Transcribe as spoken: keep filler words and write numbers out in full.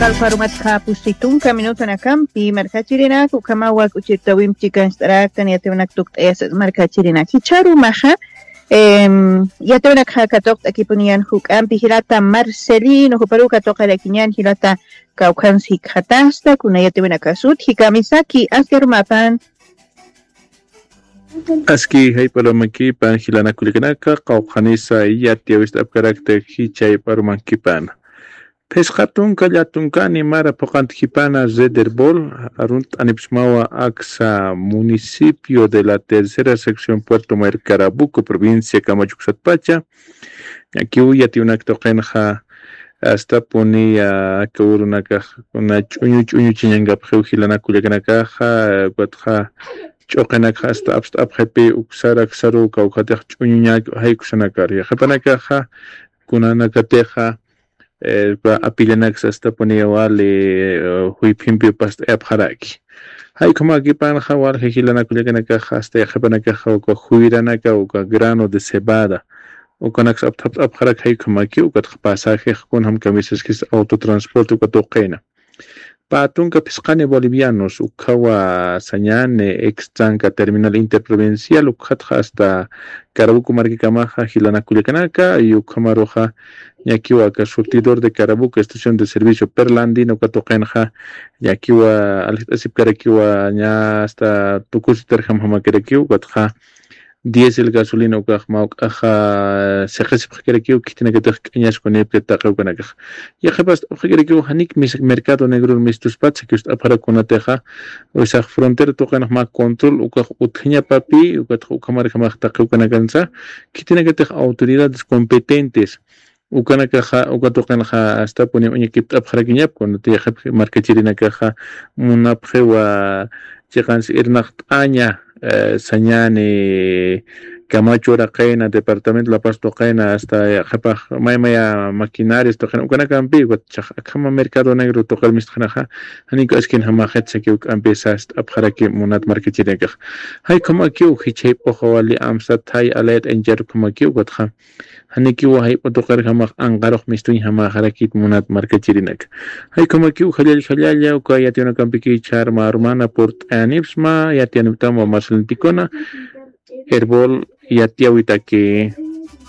Kalparumatxa pusi tunka minutonakampi markachirinak ukhamawa k'uchirtawimp chikanchtaraktan yatiwnak tukt'ayasas markachirinak jichharumaxa. Em, yatiwinakxa katuqt'akipuniyan juk'ampi jilata Marcelino juparu katuqarakiñan jilata kawkhansi khatasta kuna yatiwinakasut jikamisaki askarumapan. Aski jayp'arumakipan jilanakullakanaka qawqhanisa yatiyawist'apkarakta jichhayp'arumankipana. Phisqa tunka llatunkani mara phuqantkipana Red Herbol arunt'anipsmawa aksa municipio de la tercera sección Puerto Mayor Carabuco provincia Kamachuksatpacha. Ñakiw yatiwnak tuqinxa astapuni aka urunakax kuna ch'uñu ch'uñu chiñankapxiw jilanakullakanakaxa ukatxa ch'uqinakxa asta apst'apxipi uksaraksaru kawkhatix ch'uñuñak jaykusanakar yaqhipanakaxa kunanakatixa. Apillanak sastapuni wali juyphimpi past'ayapxaraki. Jaykhumakipanxa walja jilanakullakanakaxa asta yaqhipanakaxa uka juyranaka uka grano de cebada ukanaksa apthapt'apxarak jaykhumaki ukatxa pasajex kunjam kamisaskis autotransporte uka tuqina. Pä tunka phisqani bolivianos ukhawa sañani extranka terminal interprovincial ukhatxa asta carabuco markakamaxa jilanakullakanaka y ukhamaruxa ñakiwa aka surtidor de carabuco estación de servicio perlandino uka tuqinxa ñakiwa aljt'asipkarakiwa ña asta tukusitarjam jamakirakiw ukatxa diesel gasolina ukax mawk'axa siqisipxkirakiw khitinakatix k'añaskunipki taqiwkanakax. Yaqhipas t'apxakirakiw janik mercado negror mistuspat sakiwst'apxarak kunatixa wisax frontera tuqinax mä control ukax utjañapapi ukatxa ukhamarjamax taqiwkanakansa khitinakatix autoridades competentes ukanakaxa uka tuqinxa astapuni uñakipt'apxarakiñap kunati yaqhip markachirinakaxa munapxiwa chiqansi irnaqt'aña sañani kamachu uraqina departamento la paz tuqina asta yaqhipax maymaya maquinarias tuqina ukanakampi ukat chax akhama mercado negro tuqir mistxinaxa janiku askin jamaxit sakiw k'ampi sast'apxaraki munat markachirinakax. Jaykhumakiw jichhayp'uxa wali amsat jay alayat ancharukhamakiw ukatxa janikiwa jayp'u tuqirjamax anqarux mistuñjamaxarakit munat markachirinaka. Jaykhumakiw jallall jallalla uka yatiyunakampiki chharma armana purt'ayanipsma yatiyaniptamwa marcelintikuna herbol yatiyawitaki.